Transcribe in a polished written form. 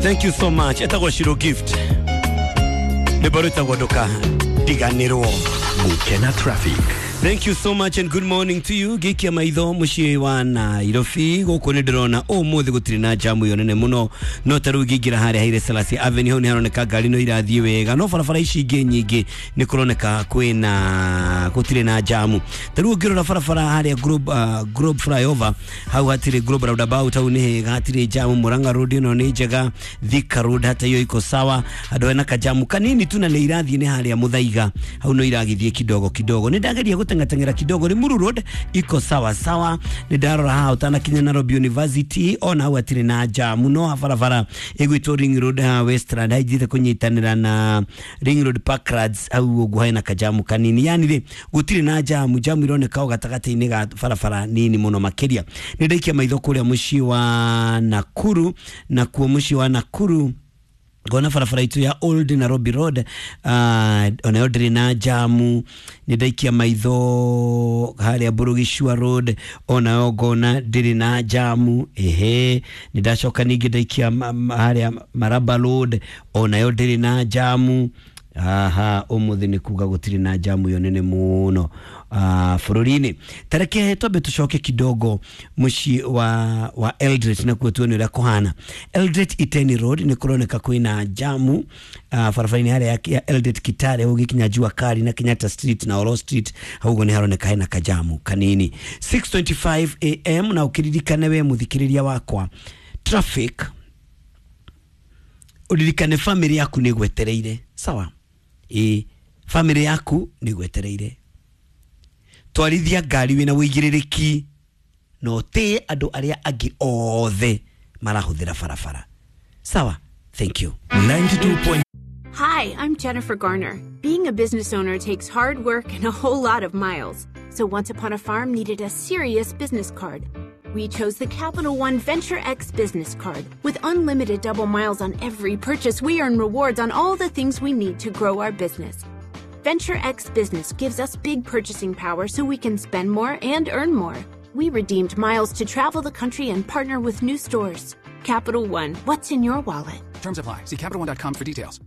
Thank you so much. Etagwo Shiro Gift, rwĩmbo rwĩtagwo ndũkariganĩrwo. Gukena traffic. Thank you so much and good morning to you. Gikia maitho muciĩ wa Nairobi gũkũ nĩ ndĩrona ũmũthĩ gũtirĩ na jamu ĩyo nene mũno, no ta rĩu ngĩingĩra harĩa Haile Selassie Avenue, hau nĩ haroneka ngari no irathiĩ wega, no barabara ici ingĩ nyingĩ nĩ kũroneka kwĩna gũtirĩ na jamu. Ta rĩu ũngĩrora barabara harĩa Globe flyover, hau hatirĩ, Globe roundabout hau nĩ hega, hatirĩ jamu. Murang'a Road ĩno nĩ njega, Thika Road hata hiyo iko sawa. Handũ hena kajamu kanini tu na nĩ irathiĩ nĩ harĩa Muthaiga, hau no iragĩthiĩ kidogo kidogo. Nĩ ndageria gũteng'ateng'era kidogo. Limuru Road iko sawa sawa. Nĩ ndarora haha ũtanakinya Nairobi University, ona hau hatirĩ na jamu, no barabara ĩgwĩtwo Ring Road haha Westland haithiĩte kũnyitanĩra na Ring Road Parklands, hau ũguo hena kajamu kanini. Yani rĩ, gũtirĩ na jamu, jamu ironeka o gatagatĩ-inĩ ga barabara nini mũno makĩria. Nĩ ndaikia maitho kũrĩa mũciĩ wa Nakuru, nakuo mũciĩ wa Nakuru ngona barabara itũ ya Old Nairobi Road onayo ndĩrĩ na jamu. Nĩ ndaikia maitho harĩa Burugishua Road, onayo ngona ndĩrĩ na jamu. Ehe, nĩ ndacoka ningĩ ndaikia harĩa Maraba Road, onayo ndĩrĩ na jamu. Aha, ũmũthĩ nĩ kuga gũtirĩ na jamu ĩyo nene mũno bũrũri-inĩ. Tareke twambe tũcoke kidogo mũciĩ wa Eldoret, nakuo tuone ũrĩa kũhana. Eldoret Iten Road nĩ kũroneka kwĩna jamu barabara-inĩ harĩa ya Eldoret Kitale, ũgĩkinya Jua Kali na Kenyatta Street na Oro Street, hau ũguo nĩ haroneka hena kajamu kanini. 6:25 am, na ũkĩririkane we mũthikĩrĩria wakwa traffic, ũririkane family yaku nĩ gwetereire. Sawa, ĩ family yaku nĩ gwetereire. Twarithia ngari wĩna wĩigĩrĩrĩki na ũtĩe andũ arĩa angĩ othe marahũthĩra barabara. Sawa, thank you. 92. Hi, I'm Jennifer Garner. Being a business owner takes hard work and a whole lot of miles. So Once Upon a Farm needed a serious business card. We chose the Capital One Venture X business card. With unlimited double miles on every purchase, we earn rewards on all the things we need to grow our business. Venture X Business gives us big purchasing power so we can spend more and earn more. We redeemed miles to travel the country and partner with new stores. Capital One, what's in your wallet? Terms apply. See CapitalOne.com for details.